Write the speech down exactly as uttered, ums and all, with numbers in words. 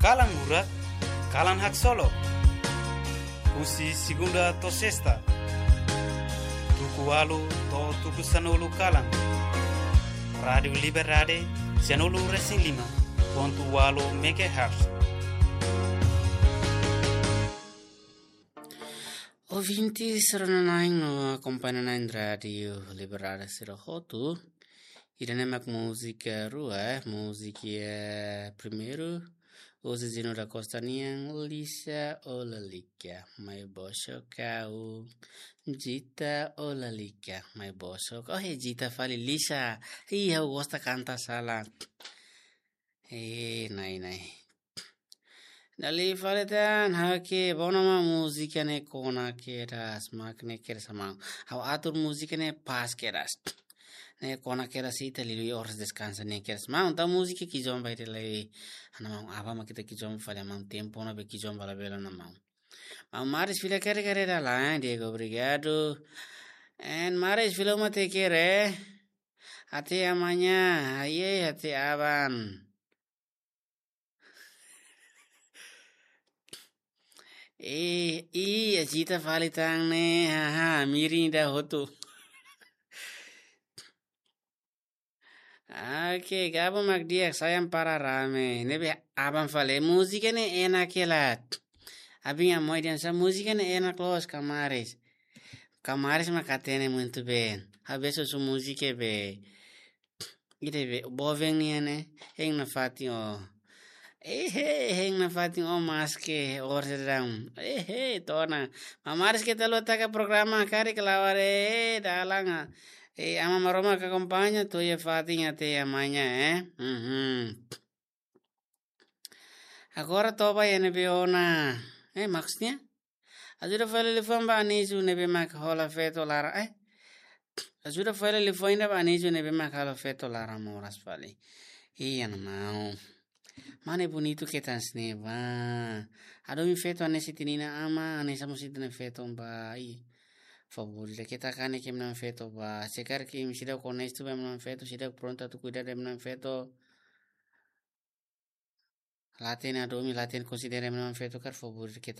Kalan Lurak, Kalan Haksolok. Husi segunda to'o sesta, tuku ualu to'o tuku sanulu kalan. Rádiu Liberdade, sianulu resin lima pontu ualu megahertz. Ouvinte sira-na'in no akompaña-na'in Rádiu Liberdade sira hotu. Ida-ne'e mak múzika rua, múzika primeiru, husi Zino da Costa nian, Lisa ou Lalika, mai bosok ha'u. Jita ou Lalika, mai bosok. Oh, é Jita fali, Lisa. Ih, ha'u gosta kanta sala. Eh, nai, nai. Dala ida fali tan, ha'u ke, bona mak múzika ne'e kona kedas, mak ne'e kedas maun. Ha'u atur múzika ne'e pas kedas. Ne'e kona kedas ita liuliu oras deskansa ne'e kedas maun. Entaun múzika kijomba ita lai, ha'u-nia maun, aban mak ita kijomba fali maun, tempu ne'ebé kijomba labele ona maun. Maun Maris fila kere kere dala, Diego, obrigadu. En Maris fila uma te kere. Até amanhã, ai, ai, até aban. Eh, ih, Jita fali tan ne'e, haha, mirin ida hotu. Oke, gabung mak di'ak, sayang para rame. Ne'ebé aban fali, múzika ne'e enak hela. Abin amoi dian sa múzika ne'e enak loos, Kamaris. Kamaris mak hatene muito bem. Habesu su múzika be. Ida be, boven nian ne'e, hein nafatin ó. Ehe, hein nafatin ó maske, or sedang. Ehe, tona. Maun Maris keta haluha taka programa karik lawar, eh, dalan, ah. Eh, Aman Maromak akompaña, to'o iha fatin até amanhã, eh. Mhm. Agora toba iha ne'ebé ona. Eh, maksudnya? Ajuda fali liafuan ba Anísio ne'ebé mak hola feto laran. Eh? Ajuda fali liafuan ida ba Anísio ne'ebé mak hola feto laran moras fali. Ih, ha'u-nia maun. Mane bonitu ke tan sne ba. Hadomi feto hanesan ita-nia inan-aman, hanesan mós ita-nia feto ba. Ih. Favór ida keta kanek ema-nia feto ba. Se karik imi seidauk onestu ba ema-nia feto, seidauk prontu atu kuidadu ema-nia feto. La hatene hadomi, la hatene konsidera ema-nia feto karik, favór ida keta